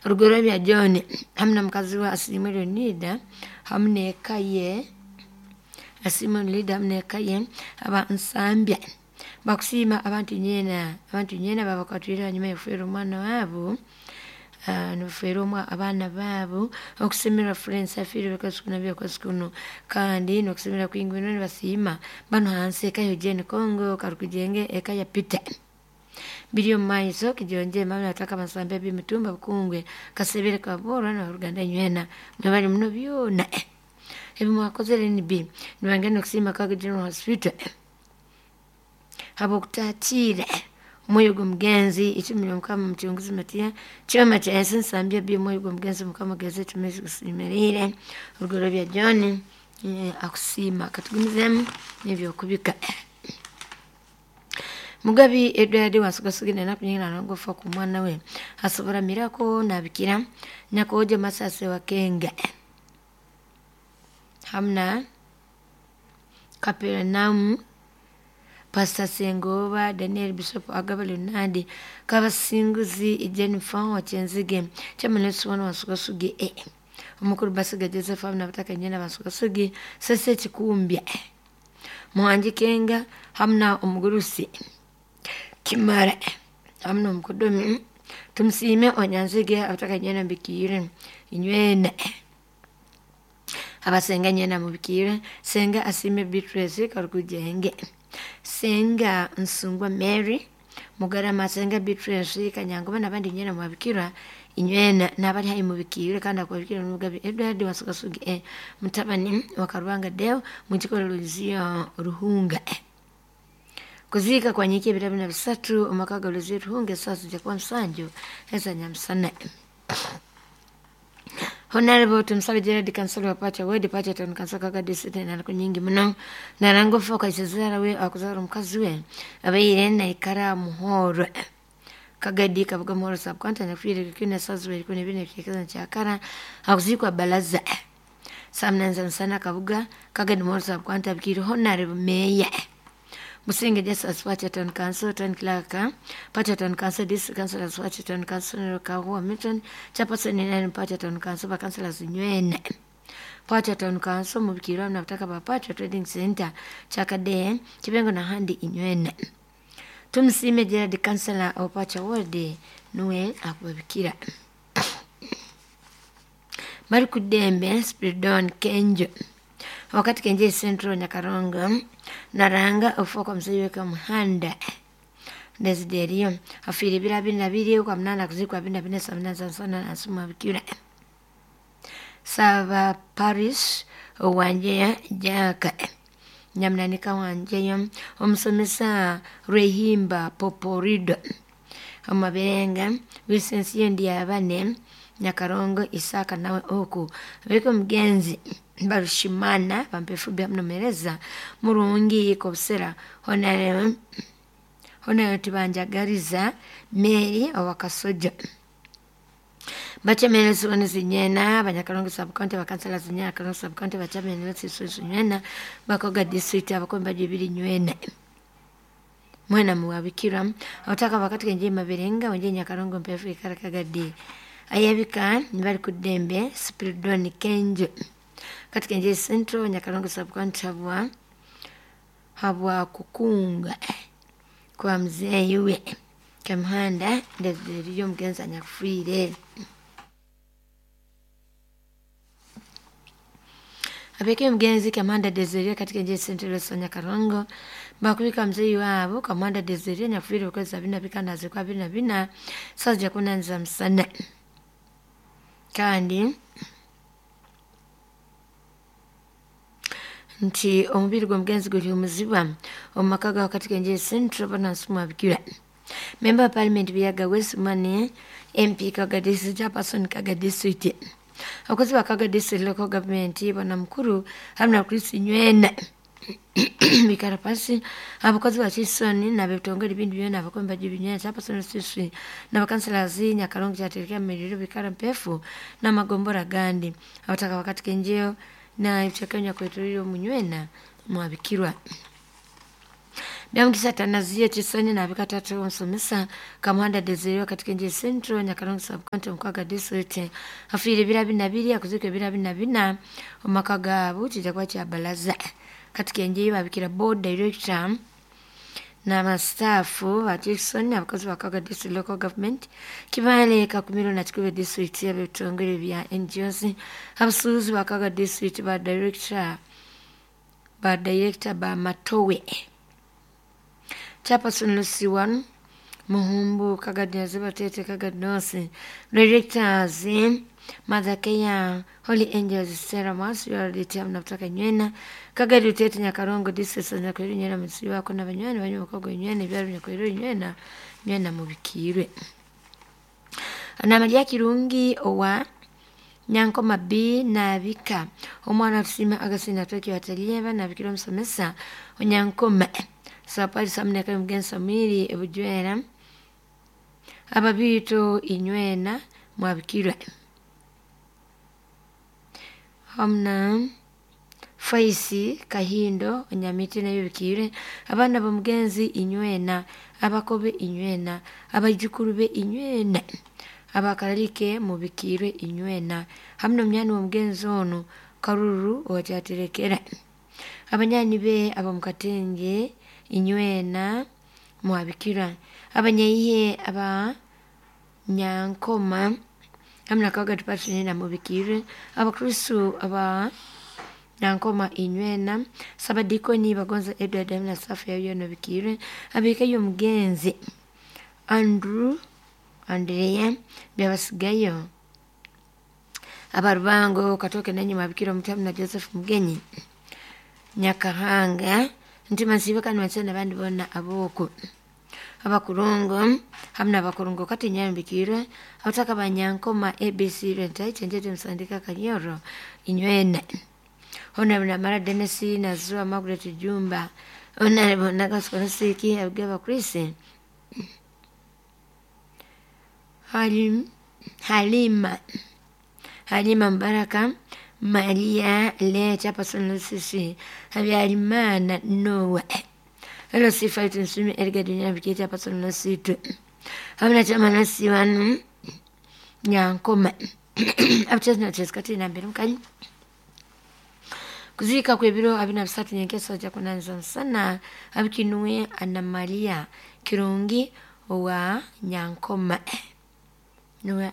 Rugorobya John hamu na mukazi we Asiimwe Leonida hamu n'eka ye, Asiimwe Leonida hamu n'eka ye aba Nsambya. Bakusiima abantu nyeena, abantu nyeena babakwatwire hanyuma y'okufeerwa omwana waabo, nibafeerwa abaana baabo, okusemererwa Florence afiire okwezi kuno abiri okwezi kuno, kandi n'okusemererwa kwingi muno nibasiima banu hansi eka ya Eugene Congo Karukujenge eka ya Peter. Biri omu maiso Kijonje mama nataka Nsambya Bimitumba Bukungwe Kasebere Kaboorwa n'aboruganda inywena mwebale muno byona ebi mwakozere nibi. Nibangenda okusiima Kaga General Hospital habw'okutakiira omwoyo gw'omugenzi icumu ly'omukama mucunguzi Matiya kyoma kya ensi Nsambya B omwoyo gw'omugenzi mukama geze tumezi gusiimirire. Rugorobya John akusiima katugumizeemu n'ebyokubika. Mugabi Edward Wansugasugire enaku nyingi nangofa ku mwana we asobora mirako nabikira nyakojo Masase Wakenga hamna Kaperenaum Pastor Sengoba Daniel Bishop Agaba Leonard Kabasinguzi Jennifer Wakyenzige Chairman Suwana Wansugasugire omukuru Basiga Joseph hamna bataka nyina Wansugasugire Sese Kikumbya Muhangi Kenga hamna omugurusi Kimara hamna omukodomi Tumusiime Onyanzige abataka nyina mbikiire inywena abasenga nyina mubikiire Senga Asiime Beatrice Karukujenge Senga Nsungwa Mary Mugarama Senga Beatrice Kanyangoba n'abandi nyina mwabikira inywena n'abali hayi mubikiire kandi akwabikira n'omugabi Edward Wasugasugi mutabani wa Karubanga Deo mukikolo Luzio Ruhunga. Kuziika kwa nyiki ebiro bina bisatu omaka ga Luzio Ruhunga esaawa zijja kuba musanju eza nyamusana. Honorable Tumusabe Gerard Kansala wa Pacha Ward Pacha Town Council Kaga District enanaku nyingi muno narangofa okaisezara we akuzara omukazi we abaire naikara Muhoro Kagadi Kabuga Muhoro Sub-County nafiire kikina esaawa zibiri ikumi n'ibiri n'ebicweka kyakara akuziikwa Balaza saa munana za musana Kabuga Kagadi Muhoro Sub-County abikiire Honorable Meya Musinge Justus Pacha Town Council Town Clerk Pacha Town Council District Councillors Pacha Town Council Kahuwa Milton Chairperson Nine Pacha Town Council Bakansellors Nywene Pacha Town Council mubikirwa na butaka ba Pacha Trading Center Chakade Kibengo na handi inywene. Tumusime Gerard Councillor wa Pacha Ward nuwe akubabikira. Bari kudembe Spiridon Kenjo wakati Kenje Central Nyakarongo naranga ofuka mzee weka muhanda Desiderio afiire ebiro abiri na biri kwa munana kuzikwa abiri na bina saa munana za nsana nasuma bikira Saba Paris Wanjeya Jaka Nyamunanika Wanjeya omusomesa Rwehimba Poporido Omaberenga Visensiyo Ndyabane Nyakarongo Isaka nawe oku abeko omugenzi Barushimana bampefu byamunomereza murungi kobusera honare honare tibanjagariza Mary owakasoja Bachamene siwone zinyena Banyakarongo Sub-County bakansala zinyena Karongo Sub-County bachamene siwone bakoga district abakomba bibiri nywena mwena muwabikira otaka wakati kenje Maberenga wenje Nyakarongo mpefu ikarakagadi ayabika nibali kudembe Spiridon Kenjo katika nje Central Nyakarongo Sub-County habwa kukunga kwa mzee we Kamuhanda Desiderio mugenzi anyakufiire. Abeke mugenzi Kamuhanda Desiderio katika nje Central Nyakarongo bakubika mzee wabo Kamuhanda Desiderio anyakufiire okwezi abiri na bikana azikwa abiri na bina saa zijja kunanza musana kandi nti omubiri gw'omugenzi guli omuzibwa omu maka ga katika nje Central banasumwa bikira. Member of Parliament Biyaga West Mane MP Kaga District Chairperson Kaga District abakozi ba Kaga District Local Government bana mukuru hamwe na Chris Nywena bikarapasi abakozi ba Chisoni n'abebitongole bindi byona abakomba by'ibinywena Chairperson Sisi n'abakanselazi Nyakarongo kyaterekera miriro bikara mpefu n'amagombora gandi abataka wakati kenjeo na ebicweka kweturire omunywena mwabikirwa. Byamukisa Tanazia Chisoni na Bikatatu Nsomesa Kamuhanda Desire katika nje Central Nyakarongo Sub County Mkwaga District. Afiire ebiro 24 akuzika ebiro 44 omumaka gaabo kijja kuba kya balaza. Katika enje babikira board director n'abasitaafu ba Jackson abakozi ba Kaga District Local Government Kibaale Kakumiro na Kikuube District ab'ebitongole bya NGOs abasuubuzi ba Kaga District ba director ba Matowe Chairperson Lucy One Muhumbu Kaga Zibatete Kaga North Directors Mother Kenya Holy Angels Sarah Mas URDT mnapotaka nywena Kagari Utete Nyakarongo District Nyakwero nywena mutsi wako n'abanywani banyu bakogo nywena ebyaro Nyakwero nywena nywena mubikirwe. Anamalia Kirungi owa Nyankoma B nabika omwana tusima agasina tweki watalieva nabikira omusomesa onyankoma sapali samuneka mugenzi Samwiri ebujwera ababiito inywena mwabikirwe hamna Faisi Kahindo Onyamiti nayo bikirwe abaana b'omugenzi inywena abakobe inywena abaijukuru be inywena abakaralike mubikirwe inywena hamna omunyani w'omugenzi ono Karuru owakyaterekera abanyanyi be ab'omukatenge inywena mwabikirwa abanyaihe aba Nyankoma hamna Kaga Department na mubikirwe abakristu aba Nyankoma inywena sabadikoni bagonza Edward hamna safu yayo nobikirwe abikayo omugenzi Andrew Andrea byabasigayo abarubango katoke nanyi mwabikira omutamu na Joseph Mugenyi Nyakahanga nti masibe kanu watsana abandi bona aboko abakurungu hamna abakurungu kati nyambikirwe abataka banyankoma ABC rentai chenjete msandika kanyoro inywena Honorable Namara Dennis na Zua Margaret Jumba Honorable Nagaskonosiki Abigaba Chris Halima Halima Mbaraka Maria Le Chapason Lusisi Habyarimana Noah Hello Sifa Nsumi Edgar Dunya Bikiti Chapason Lusitu Hamna chama nasi wanu Nyankoma Abchezi na chezi kati na mbere mkanyi kuzika kwebiro 23 nyenkeso ja kunanza sana abikinuwe Ana Maria Kirungi wa Nyankoma nuwe.